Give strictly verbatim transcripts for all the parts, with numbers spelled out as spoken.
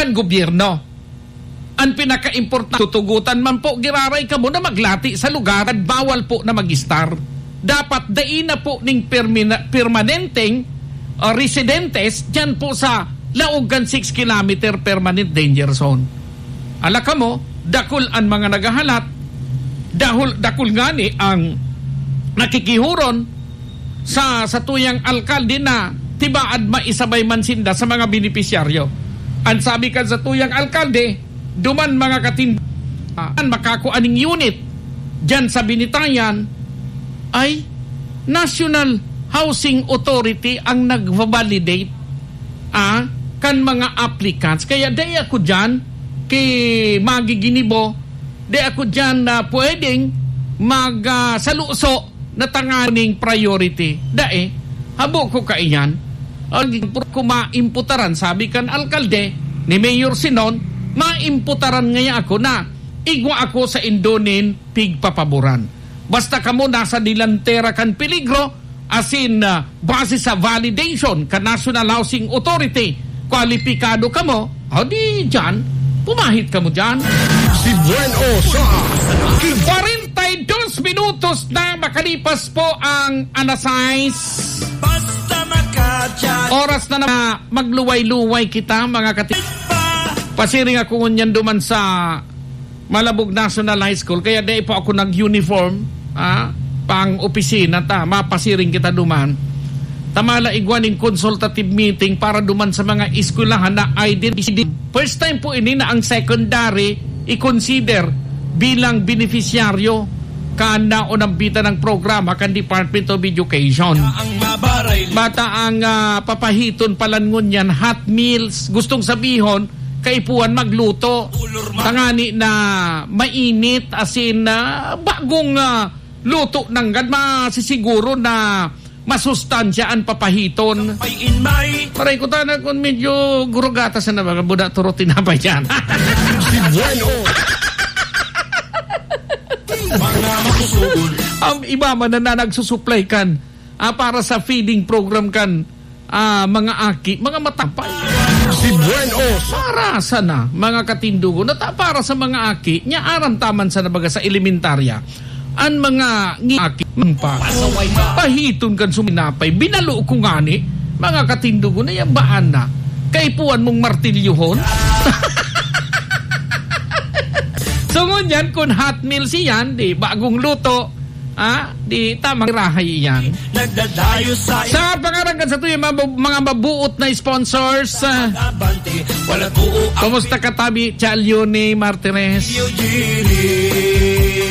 ang gobyerno. Ang pinakaimportante, tutugutan man po giraray kamo na maglati sa lugar at bawal po na mag-star. Dapat dai na po ning permina-, permanenteng, ah, residentes diyan po sa laog kan six kilometer permanent danger zone. Ala kamo, dakul an mga naghahalat, dahul-, dakul ngani ang nakikihuron sa satuyang alkalde na tibaad maisabay man sinda sa mga benepisyaryo. An sabi kan satuyang alkalde, duman mga katin-, ah, an makakua ning unit diyan sa Binitayan ay National Housing Authority ang nagva-validate, ah, kan mga applicants. Kaya dai ako diyan ki magiginibo, dai ako diyan na pwedeng mag, ah, saluso na tanganing priority. Dai, habo ko kaiyan. Ang ko maimputaran, sabi kan alkalde, ni Mayor Sinon, maimputaran ngaya ako na igwa ako sa indo nin pigpapaboran. Basta kamo nasa delantera kan peligro, asin, ah, base sa validation kan National Housing Authority, kwalipikado kamo, o di dyan, pumahit kamo dyan. Si Buen O sa Kwarenta y dos minutos na makalipas po ang alas sais. Basta makadyan. Oras na na magluway-luway kita, mga kati-, pasiring ako ngunyan duman sa Malabog National High School, kaya dai pa ako nag-uniform, ah, pang opisina ta, mapasiring kita duman. Tamala igwa ning consultative meeting para duman sa mga eskwelahan na identity. First time po ini na ang secondary i-consider bilang beneficiaryo kan naunambitan ng programa kan Department of Education. Bata ang, ah, papahiton palan ngunyan, hot meals. Gustong sabihon, kaipuhan magluto. Tangani na mainit, asin, ah, bagong, ah, luto nanggad, masisiguro na masustansya an papahiton. Paray ko tana kun medyo gurugata sa nabaga, buda turo tinapay dyan. Si Bueno. Mga masusugon. Ang iba man na, na nagsusuplay kan, ah, para sa feeding program kan, ah, mga aki, mga matapay. Si Buen O. Para sana, mga katindugon, at, ah, para sa mga aki, nya aram taman sa nabaga sa elementarya, an mga ngi-, aki, man pa, pahiton kan suminapay, binalo ko ngani, mga katindugon, na yan baan na? Kaipuhan mong martilyohon? So, ngunyan, kun hot meals iyan, di, bagong luto, ah, di, tamang irahay iyan. Nagdadayo sa Sa pangaran kan sa tuyang mga, mga mabuot na sponsors, ah, abante, wala buo ang kumusta ka, Tabi Chalione Martires? Eugene.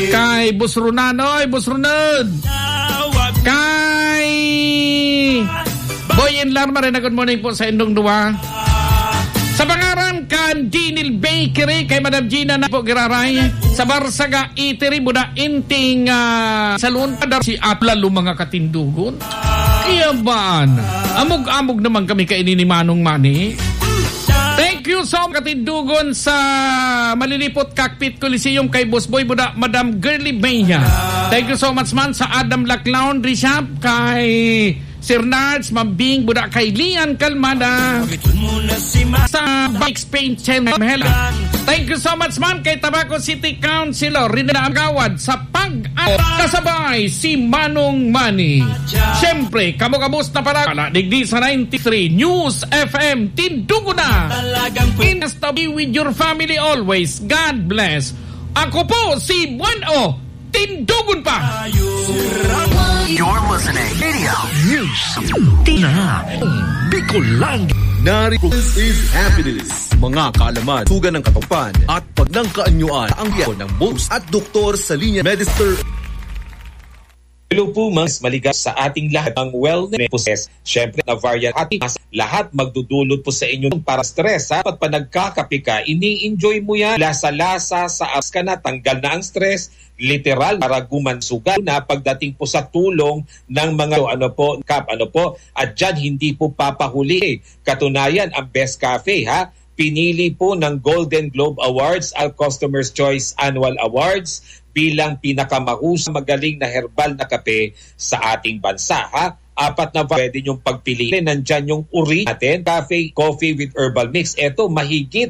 Kay Boss Ronan, oy, Boss Ronan. Tawag. Kay Boy and Larma rin, good morning po sa indong duwa. Sa pangaran kan Dinil Bakery, kay Madam Gina na po giraray. Sa Barsaga Eatery, Buda Inting, ah, Salon, padar si Atla, lumang katindugon. Kaya baan? Amog-amog naman kami kaini ni Manong Manny. Thank you so much, katindugon sa Malilipot Cockpit Coliseum kay Boss Boy Buda, Madam Girly Benya. Thank you so much man sa Adam Black Laundry Shop, kay Sir Nards, Ma'am Bing Buda, kay Lian Calmada. Sa Bikes Paint Channel, Mela. Thank you so much man kay Tabaco City Councilor Rina Agawad sa pag kasabay si Manong Manny. Siyempre, kamo kabus na pala, digdi sa ninety-three News F M, Tindugo na. Talagang pwede. Stay with your family always. God bless. Ako po si Buen O. Tindugon pa. You're listening Radio News. Tina. Bicolandia. Narito is happiness. Mga kaalaman, tugan ng katapan at pagnangkaanyuan ang biyahe ng bonus at doktor sa linya Medister. Hello po, mas maligaya sa ating lahat ang wellness process. Siyempre, na variant at mas lahat magdudulot po sa inyo para stress, ha? Dapat pa nagkakape ka, ini-enjoy mo yan. Lasa-lasa, sa apps ka na, tanggal na ang stress, literal, para gumansugal na pagdating po sa tulong ng mga, ano po, kap, ano po, at dyan hindi po papahuli. Katunayan, ang Best Cafe, ha? Pinili po ng Golden Globe Awards ang Customer's Choice Annual Awards bilang pinakamahusay, magaling na herbal na kape sa ating bansa, ha? Apat na pwede niyong pagpiliin. Nandyan yung uri natin, cafe, coffee with herbal mix. Eto, mahigit